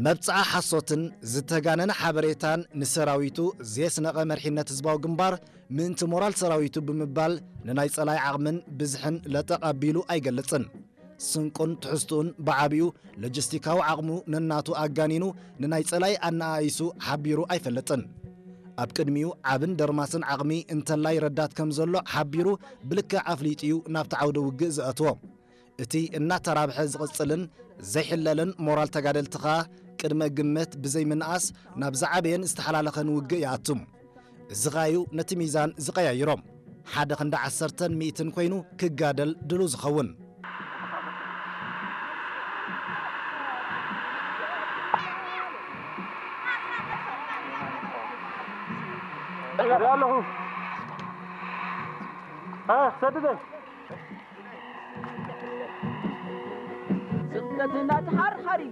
መብጽዓ ሓሶትን ዝተጋነነ ሓበሬታን ንሰራዊቱ ዘየስነቐ መሪሕነት ህዝባዊ ግንባር፣ ምእንቲ ሞራል ሰራዊቱ ብምባል ንናይ ጸላኢ ዓቕምን ብዝሕን ለጠቕ ኣቢሉ ኣይገልጽን። ስንቁን ትሕዝትኡን ብዓቢኡ ሎጂስቲካዊ ዓቕሙ ነናቱ ኣጋኒኑ ንናይ ጸላኢ ኣነኣኢሱ ሓቢሩ ኣይፈልጥን። ኣብ ቅድሚኡ ዓብን ደርማስን ዓቕሚ እንተላይ ረዳት ከም ዘሎ ሓቢሩ ብልክዕ ኣፍሊጡ እዩ ናብቲ ዓውደ ውግእ ዘእትዎ። እቲ እናተራብሐ ዝቕጽልን ዘይሕለልን ሞራል ተጋደልቲ ኸኣ ቅድመ ግምት ብዘይምንኣስ ናብ ዝዓበየን ዝተሓላለኸን ውግእ ይኣቱ። እዚ ኸኣ'ዩ ነቲ ሚዛን ዝቐያይሮ። ሓደ ክንዲ ዓሰርተን ሚእትን ኮይኑ ክጋደል ድሉው ዝኸውን። ኣለኹ። እ፣ ሰድደን። ስቕለትና ተሓርሓሪ።